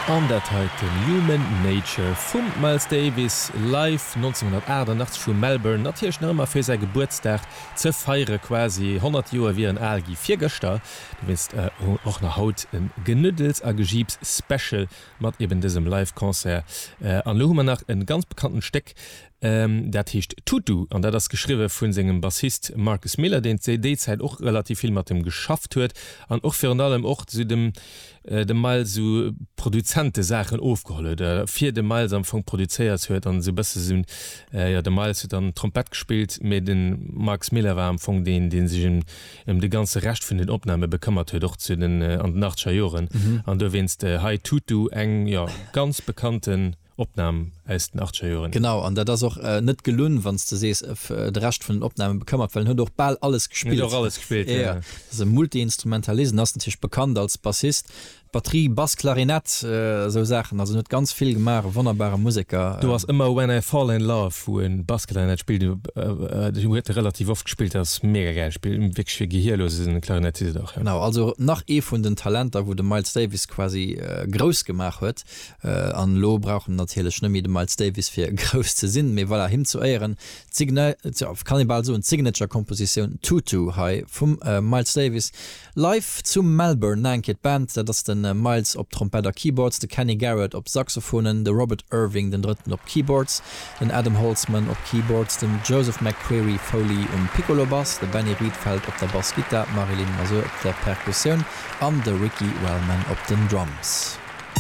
An dat heiten Human Nature vum Miles Davis live 1988 vu Melbourne, natierlech nach ëmmer fir säi Gebuertsdag ze feiere quasi 100 Joer wier en al gi virgëschter, dowéinst och nach haut e Genuddels a Gejiips Special mat eben dësem Live Concert. An elo hu mer nach e ganz bekanntent Stéck, dat heescht Tutu an dat ass geschriwwe vu sengem Bassist Marcus Miller, deen déi Zäit och relativ vill mat em geschafft huet an och virun allem och zu dem dem Miles esou Produzentesaachen ofgeholl huet, oder fir de Miles am Fong produzéiert huet an esou e bësse sou, jo de Miles huet dann Trompett gespillt, mee de Marcus Miller war am Fong deen, dee sech ëm ëm de ganze Rescht vun den Opname bekëmmert huet, och zu den an den achtzeger Joren. An dowéinst hei Tutu, eng jo ganz bekannten Opnam aus den achtzeger Joren. Genau, an dat ass och net gelunn, wann s de sees, de Rescht vun den Opname bekëmmert, well en huet och bal alles gespillt. Huet och alles gespillt, jo. Jo, ass e Multi-Instrumentalist en ass natierlech bekannt als Bassist, Batterie, Bass, Klarinett, esou Saachen. Also en huet ganz vill gemaach, e wonnerbare Museker. Do ass ëmmer When I Fall in Love, wou e Bassklarinett spillt, déi huet e relativ oft gespillt, dat ass mega gäil, spillt wierklech fir gehierlose Klarinettist och, jo. Genau, also nach ee vun den Talenter, wou de Miles Davis quasi grouss gemaach huet. An elo brauch en natierlech net méi de Miles Davis fir grouss ze sinn, mee voilà, him zu Éieren d'Signa, kann ee bal soen, d'Signature-Kompositioun Tutu hei vum Miles Davis live zu Melbourne. Nach eng Kéier d'Band, dat ass de Miles op Trompett a Keyboards, de Kenny Garrett op Saxophonen, de Robert Irving den Drëtten op Keyboards, den Adam Holzman op Keyboards, den Joseph McCreary Foley um Piccolo-Bass, de Benny Rietveld op der Bassgittar, d'Marilyn Mazur op der Perkussioun an de Ricky Wellman op den Drums.